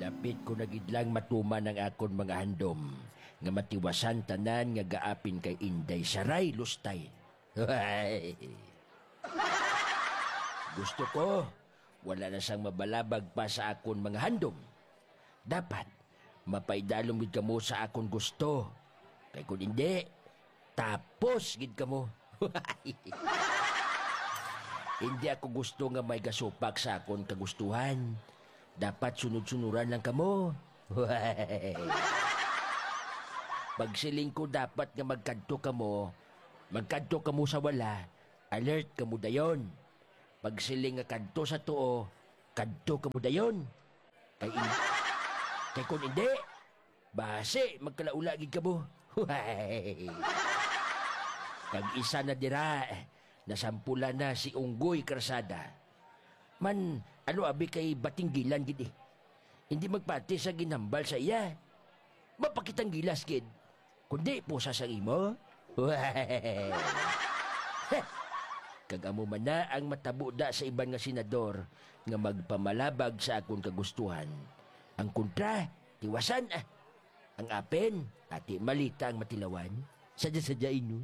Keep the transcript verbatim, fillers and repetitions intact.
Dapit ko na gid lang matuman ang akon mga handom, nga matiwasan tanan nga gaapin kay Inday Saray Lustay. Gusto ko, wala na sang mabalabag pa sa akon mga handom. Dapat, mapaidalom gid kamo sa akon gusto. Kay kung hindi, tapos gid kamo. Hindi ako gusto nga may gasupak sa akon kagustuhan. Dapat sunod-sunuran lang kamo. Pagsiling ko dapat nga magkadto kamo, magkadto kamo sa wala, alert kamo dayon. Pagsiling nga kadto sa tuo, kadto kamo dayon. Kay in-, kay kung hindi, basi magkalaula gid kamo. Kag isa na dira, nasampulan na si Unggoy Karsada. Man, ano abi kay batinggilan gid eh. Hindi magpati sa ginhambal sa iya. Mapakitang gilas gid. Kundi pusa sang imo. Kag amo man na ang matabo da sa iban nga senador nga magpamalabag sa akon kagustuhan. Ang kontra, tiwasan ah. Ang apin, ati malita ang matilawan. Sadya-sadyain, no?